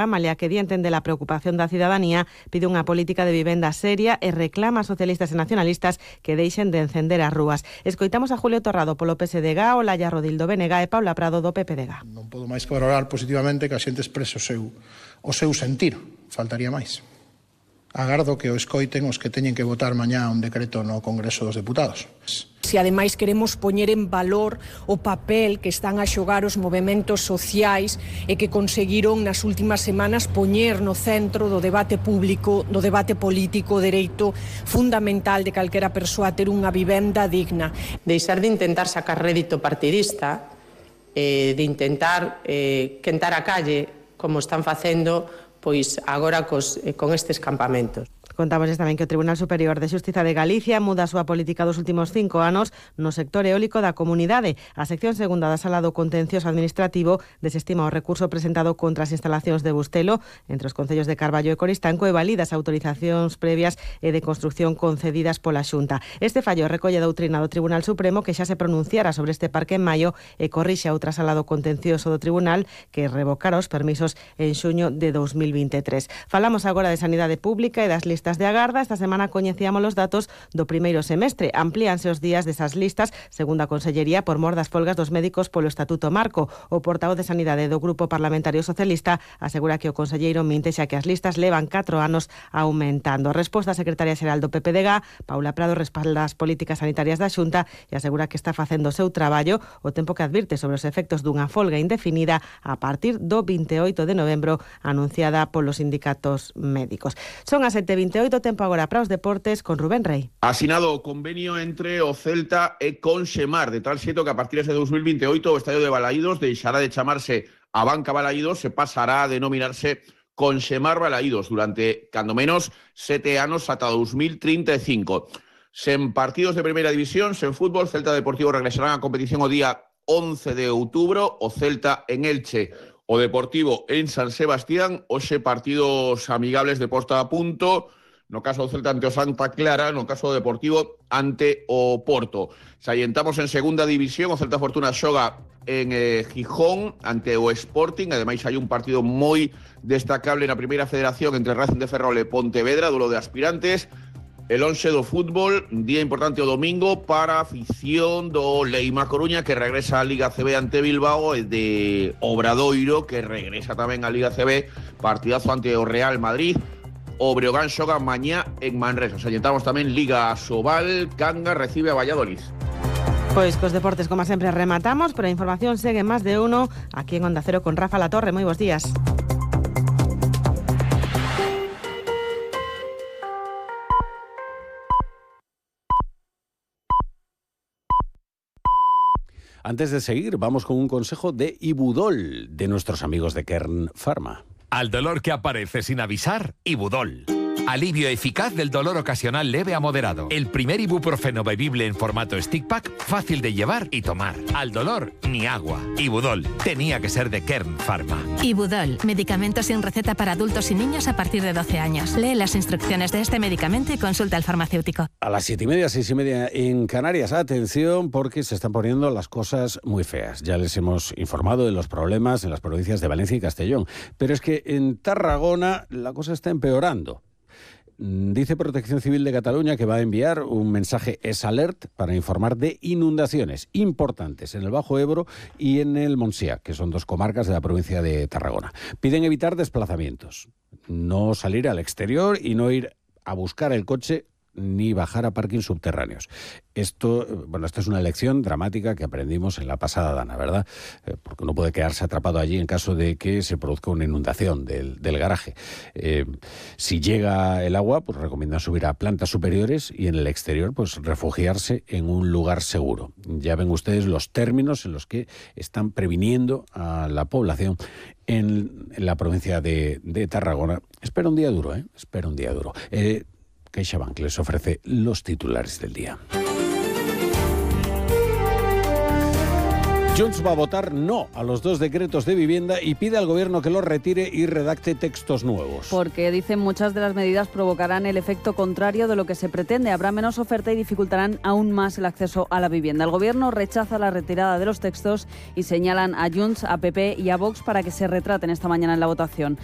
malia que dienten de la preocupación da cidadanía, pide unha política de vivenda seria e reclama a socialistas e nacionalistas que deixen de encender as rúas. Escoitamos a Julio Torrado polo PSDG, Olaya Rodildo BNG e Paula Prado do PPDG. Non podo máis que valorar positivamente que a xente exprese o seu sentir, faltaría máis. Agardo que o escoiten os que teñen que votar mañá un decreto no Congreso dos Deputados. Se ademais queremos poñer en valor o papel que están a xogar os movementos sociais e que conseguiron nas últimas semanas poñer no centro do debate público, do debate político, o dereito fundamental de calquera persoa a ter unha vivenda digna. Deixar de intentar sacar rédito partidista, de intentar quentar a calle, como están facendo pois agora con estes campamentos. Contámosles tamén que o Tribunal Superior de Xustiza de Galicia muda a súa política dos últimos 5 anos no sector eólico da comunidade. A sección segunda da Sala do Contencioso Administrativo desestima o recurso presentado contra as instalacións de Bustelo entre os concellos de Carballo e Coristanco e valida as autorizacións previas e de construcción concedidas pola Xunta. Este fallo recolle a doutrina do Tribunal Supremo que xa se pronunciara sobre este parque en maio e corrixe a outra Sala do Contencioso do Tribunal que revocara os permisos en xuño de 2023. Falamos agora de sanidade pública e das listas de agarda. Esta semana coñecíamos os datos do primeiro semestre. Amplíanse os días desas listas, segundo a Consellería, por mor das folgas dos médicos polo Estatuto Marco. O portavoz de Sanidade do Grupo Parlamentario Socialista asegura que o conselleiro minte xa que as listas levan 4 anos aumentando. Resposta a secretaria xeral do PPDG, Paula Prado, respalda as políticas sanitarias da Xunta e asegura que está facendo o seu traballo, o tempo que advirte sobre os efectos dunha folga indefinida a partir do 28 de novembro anunciada polos sindicatos médicos. Son as 7:28, tempo agora para os deportes con Rubén Rey. Asinado o convenio entre o Celta e Conxemar, de tal xeito que a partir de 2028 o estadio de Balaídos deixará de chamarse Abanca Balaídos, se pasará a denominarse Conxemar Balaídos durante, cando menos, 7 anos ata 2035. Sen partidos de primeira división, sen fútbol, Celta Deportivo regresarán á competición o día 11 de outubro, o Celta en Elche, o Deportivo en San Sebastián, hoxe partidos amigables de posta a punto, no caso do Celta ante o Santa Clara, no caso do Deportivo ante o Porto. Salientamos en segunda división, o Celta Fortuna xoga en Gijón ante o Sporting, ademais hai un partido moi destacable na primeira federación entre Racing de Ferrol e Pontevedra, duelo de aspirantes. El 11 do fútbol, día importante o domingo para a afición do Leima Coruña, que regresa á Liga CB ante Bilbao, e de Obradoiro, que regresa tamén á Liga CB, partidazo ante o Real Madrid. O Breogán xoga mañá en Manresa. Salientamos tamén Liga Sobal, Cangas recibe a Valladolid. Pois cos deportes, como sempre, rematamos, pero a información segue máis de uno aquí en Onda Cero con Rafa Latorre. Moi bons días. Antes de seguir, vamos con un consejo de Ibudol, de nuestros amigos de Kern Pharma. Al dolor que aparece sin avisar, Ibudol. Alivio eficaz del dolor ocasional leve a moderado. El primer ibuprofeno bebible en formato stick pack, fácil de llevar y tomar. Al dolor, ni agua. Ibudol. Tenía que ser de Kern Pharma. Ibudol. Medicamento sin receta para adultos y niños a partir de 12 años. Lee las instrucciones de este medicamento y consulta al farmacéutico. A las 7:30, 6:30 en Canarias. Atención, porque se están poniendo las cosas muy feas. Ya les hemos informado de los problemas en las provincias de Valencia y Castellón. Pero es que en Tarragona la cosa está empeorando. Dice Protección Civil de Cataluña que va a enviar un mensaje S-Alert para informar de inundaciones importantes en el Bajo Ebro y en el Montsià, que son 2 comarcas de la provincia de Tarragona. Piden evitar desplazamientos, no salir al exterior y no ir a buscar el coche ni bajar a parkings subterráneos. Esto es una lección dramática que aprendimos en la pasada dana, ¿verdad? Porque uno puede quedarse atrapado allí en caso de que se produzca una inundación del garaje. Si llega el agua, pues recomiendan subir a plantas superiores y en el exterior, pues refugiarse en un lugar seguro. Ya ven ustedes los términos en los que están previniendo a la población en la provincia de Tarragona. Espera un día duro, Espera un día duro. CaixaBank les ofrece los titulares del día. Junts va a votar no a los 2 decretos de vivienda y pide al gobierno que los retire y redacte textos nuevos. Porque, dicen, muchas de las medidas provocarán el efecto contrario de lo que se pretende. Habrá menos oferta y dificultarán aún más el acceso a la vivienda. El gobierno rechaza la retirada de los textos y señalan a Junts, a PP y a Vox para que se retraten esta mañana en la votación.